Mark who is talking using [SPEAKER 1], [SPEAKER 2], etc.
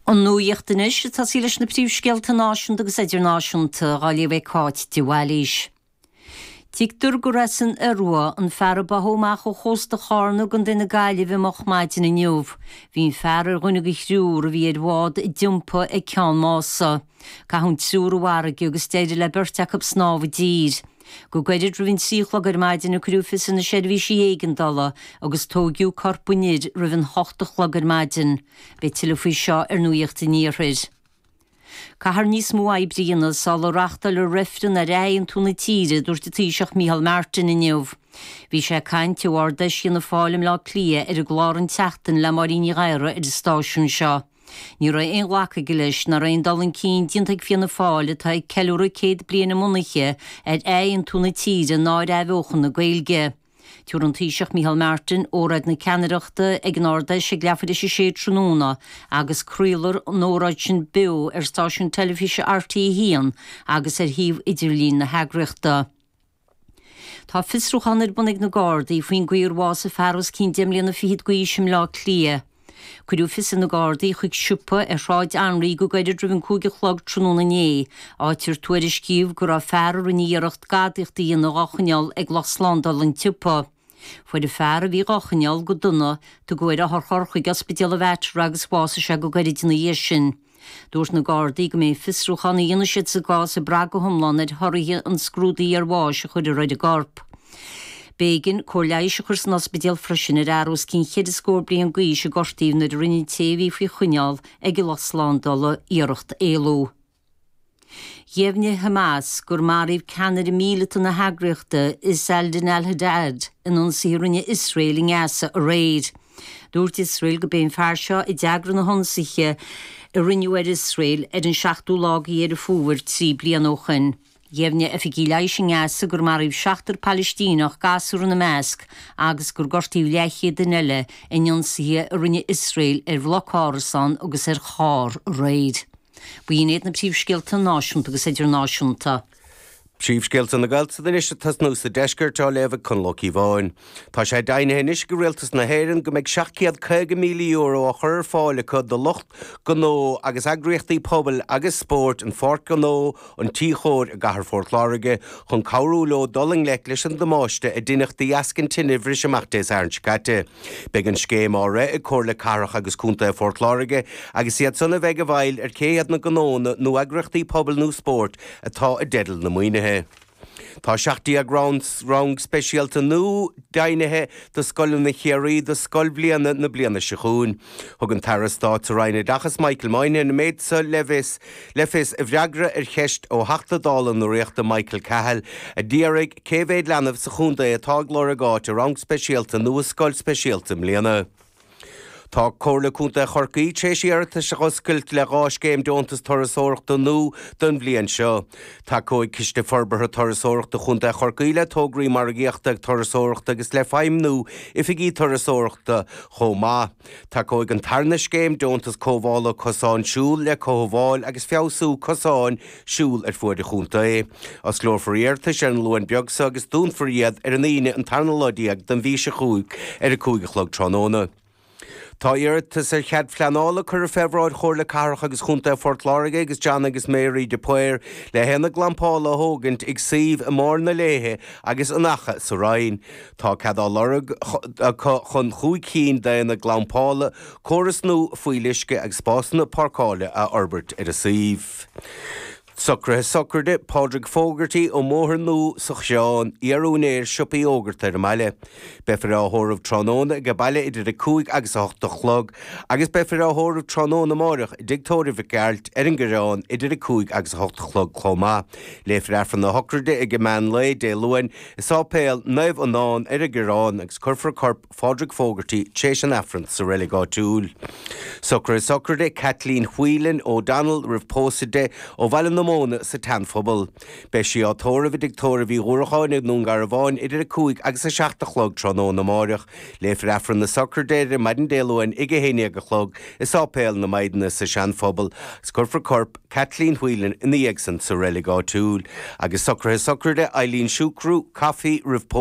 [SPEAKER 1] An nuacht anois, ag tosaí leis na príomhscéalta náisiúnta agus idirnáisiúnta, á léamh ag Cáit de Bhailís. Tuigtear gur as an Iorua an fear a báthadh amach ó chósta Chárna i gContae na Gaillimhe moch maidin inniu. Bhí an fear ar dhuine de thriúr a bhí ar bhád a d'iompaigh ag Ceann Mása. Caitheadh an triúr i bhfarraige agus d'éirigh le beirt acu snámh i dtír. Go gairid roimh an 3 a chlog ar maidin a cuireadh fios ar na seirbhísí éigeandála agus tóigeadh corp an fhir roimh an 8 a chlog ar maidin. Beidh tuilleadh faoi seo ar Nuacht an Iarthair. Caithfear níos mó oibre a dhéanamh sula reáchtálfar reifreann ar athaontú na tíre, a dúirt an Taoiseach Micheál Martin inniu. Bhí sé ag caint ó Ard-Fheis Fhianna Fáil i mBleá Cliath ar an gclár An tSeachtain le Máirín Ní Ghadhra ar an stáisiún seo. Ní raibh aon ghlacadh aige leis nach raibh aon dul chun cinn déanta ag Fianna Fáil atá ag ceiliúradh 100 bliain a mbunaithe ar athaontú na tíre ná ar athbheochan na Gaeilge. Tabharfaidh an Taoiseach Micheál Martin óráid na ceannaireachta ag an Ard-Fheis ag leathuair tar éis a sé tráthnóna agus craolfar an óráid sin beo ar stáisiún teilifíse RTÉ 1 agus ar shuíomh idirlín na heagraíochta. Tá fiosrúchán ar bun ag na Gardaí faoin gcaoi ar bhásaigh fear os cionn deich mbliana fichead d'aois i mBleá Cliath. Cuireadh fios ar na Gardaí chuig siopa ar Shráid Anraí go gairid roimh an 5 a chlog tráthnóna inné, áit ar tuairiscíodh go raibh fear a rinne iarracht gadaíocht a dhéanamh dhá choinneáil ag lucht slándála an tsiopa. Fuair an fear a bhí dhá choinneáil go dona, tugadh ar otharcharr chuig Ospidéal an Mhater é agus bhásaigh sé go gairid ina dhiaidh sin. Dúirt na Gardaí go mbeidh an fiosrúchán a dhéanfaidh siad sa gcás ag brath go hiomlán ar thorthaí an scrúdaithe iarbháis a chuirfear ar an gcorp. B'éigean cóir leighis a chur san ospidéal freisin ar fhear os cionn cheithre scór bliain d'aois a gortaíodh nuair a rinne an té a bhí faoi choinneáil ag an lucht slándála iarracht éalú. Dheimhnigh Hamas gur maraíodh ceannaire míleata na heagraíochta, Izz al-Din al-Haddad, in ionsaithe a rinne Iosrael i nGaza aréir. Dúirt Iosrael go b'é an fear seo a d'eagraigh na hionsaithe a rinneadh ar Iosrael ar an seachtú lá de Dheireadh Fómhair 3 bliana ó shoin. Dheimhnigh oifigigh leighis i nGaza gur maraíodh seachtar Palaistíneach, gasúr ina measc, agus gur gortaíodh leathchéad duine eile in ionsaithe a rinne Iosrael ar bhloc árasán agus ar charr aréir. B'in iad na príomhscéalta náisiúnta agus idirnáisiúnta.
[SPEAKER 2] Príomhscéalta na Gaeltachta anois ag tosnú sa deisceart á léamh ag Conall Ó Cíobháin. Tá sé deimhnithe anois ag Rialtas na hÉireann go mbeidh €750,000 á chur ar fáil acu do lucht gnó agus eagraíochtaí pobail agus spóirt an Pháirc Ghnó an Tí Chóir i gcathair Phort Láirge chun cabhrú leo dul i ngleic leis an damáiste a deineadh de dheasca an tine a bhris amach Dé Sathairn seo caite. Beidh an scéim á rith ag Comhairle Cathrach agus Contae Phort Láirge agus iad san a bheidh i bhfeighil ar cé hiad na gnónna nó eagraíochtaí pobail nó spóirt atá i dteideal na maoinithe. Tá 17 rang speisialta nua deimhnithe do scoileanna Chiarraí do scoilbhliana na bliana seo chugainn. Thug an tAire Stáit sa Roinn Oideachais Michael Moynihan an méid seo le fios le fios i bhfreagra ar cheist ó Theachta Dála na Ríochta Michael Cahill a d'fhiafraigh cé mhéad leanbh sa chontae atá ag lorg áit i rang speisialta nó i scoil speisialta i mbliana. Tá Comhairle Contae Chorcaí tar éis iarratais a dh'oscailt le 2 scéim deontas turasóireachta nua don bhliain seo. Tacóidh Ciste Forbartha Turasóireachta Chontae Chorcaí le tograí margaíochta turasóireachta agus le feidhmniú oifigí turasóireachta chomh maith. Tacóidh an tarna scéim deontas cothabhála cosán siúil le cothabháil agus feabhsú cosáin siúil ar fuaid an chontae. Osclófar iarratais ar an Luan beag seo agus dúnfar iad ar an Aoine an tarna lá déag den mhí seo chugainn ar a 5 a chlog tráthnóna. Tá iarratas ar chead phleanála curtha fé bhráid Chomhairle Cathrach agus Chontae Phort Láirge agus John agus Mary de Paor le haonad glampála a thógaint ag suíomh i mBarr na Léithe agus an Fhaiche sa Rinn. Tá cead á lorg acu chun chúig cinn d'aonaid glampála, córas nua fuíolluisce agus spásanna páirceála a fhorbairt ar an suíomh. Socruithe sochraide Pádraig Fogarty ón mBóthar Nua sa Choireán, iar-úinéir siopa iógart ar an mbaile. Beifear á thórramh tráthnóna age baile idir 5 agus 8 a chlog agus beifear á thórramh tráthnóna amáireach i dTigh Tórraimh Mhic Gearailt ar an gCoireán idir 5 agus 8 a chlog chomh maith. Léifear Aifreann na sochraide ag meán lae Dé Luain i Sáipéal Naomh Fhionán ar an gCoireán agus cuirfear corp Phádraig Fogarty tréis an Aifrinn sa reilig áitiúil. Socruithe sochraide Kathleen Whelan O'Donnell roimh pósadh di ó Bhaile na Móna sa tSeanphobal. Beidh sí á tórramh i dTigh Tórraimh Uí Dhúracháin i nDún Garbhán idir 5 agus 7 a chlog tráthnóna amáireach. Léifear Aifreann na sochraide ar maidin Dé Luain ag 11 a chlog i Sáipéal na Maighdine sa Seanphobal agus cuirfear corp Kathleen Whelan ina dhiaidh san sa reilig áitiúil. Agus socruithe sochraide Eileen Siúcrú, Coffey, roimh pósadh.